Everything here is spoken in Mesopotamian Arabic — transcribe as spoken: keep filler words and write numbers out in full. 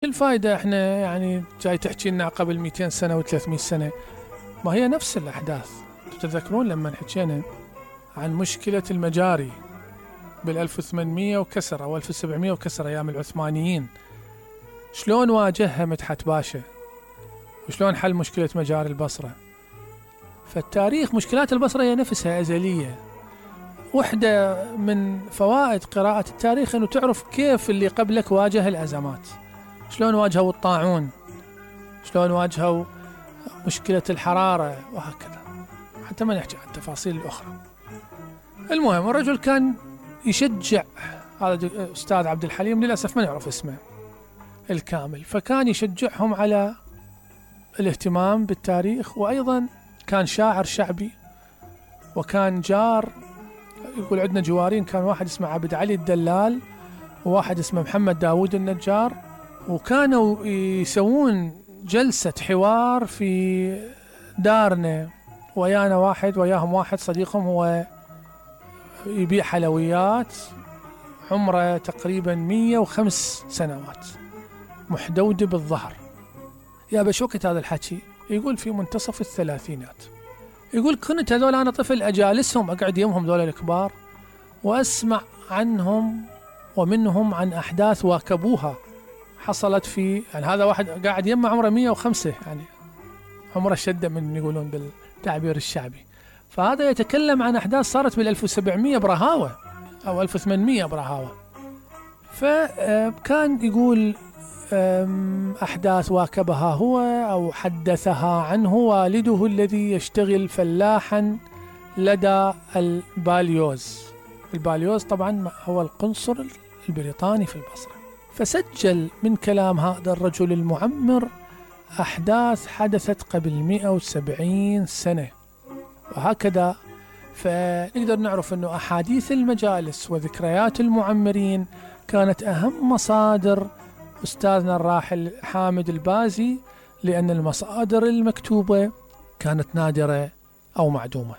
الفائدة احنا يعني جاي تحكي لنا قبل مئتين سنة وثلاثمئة سنة، ما هي نفس الأحداث. تتذكرون لما حكينا عن مشكلة المجاري بالألف وثمانمئة وكسر أو ألف وسبعمئة وكسر أيام العثمانيين، شلون واجهها مدحت باشا وشلون حل مشكلة مجاري البصرة. فالتاريخ مشكلات البصرة هي نفسها أزلية. وحدة من فوائد قراءة التاريخ أنه تعرف كيف اللي قبلك واجه الأزمات، شلون واجهوا الطاعون، شلون واجهوا مشكلة الحرارة وهكذا، حتى ما نحكي عن التفاصيل الأخرى. المهم الرجل كان يشجع، هذا أستاذ عبد الحليم للأسف ما نعرف اسمه الكامل، فكان يشجعهم على الاهتمام بالتاريخ، وأيضا كان شاعر شعبي وكان جار. يقول عندنا جوارين، كان واحد اسمه عبد علي الدلال وواحد اسمه محمد داود النجار، وكانوا يسوون جلسة حوار في دارنا، ويانا واحد وياهم واحد صديقهم هو يبيع حلويات، عمره تقريبا مئة وخمس سنوات، محدودة بالظهر. يا بش وقت هذا الحكي يقول في منتصف الثلاثينات، يقول كنت هذول أنا طفل أجالسهم أقعد يمهم ذول الكبار وأسمع عنهم ومنهم عن أحداث واكبوها حصلت في، يعني هذا واحد قاعد يمه عمره مئة وخمسة، يعني عمره شدة من يقولون بالتعبير الشعبي. فهذا يتكلم عن أحداث صارت بالألف وسبعمئة برهاوة أو ألف وثمانمئة برهاوة. فكان يقول أحداث واكبها هو أو حدثها عنه والده الذي يشتغل فلاحا لدى الباليوز. الباليوز طبعا هو القنصل البريطاني في البصرة. فسجل من كلام هذا الرجل المعمر أحداث حدثت قبل مئة وسبعين سنة وهكذا. فنقدر نعرف أنه أحاديث المجالس وذكريات المعمرين كانت أهم مصادر أستاذنا الراحل حامد البازي، لأن المصادر المكتوبة كانت نادرة أو معدومة.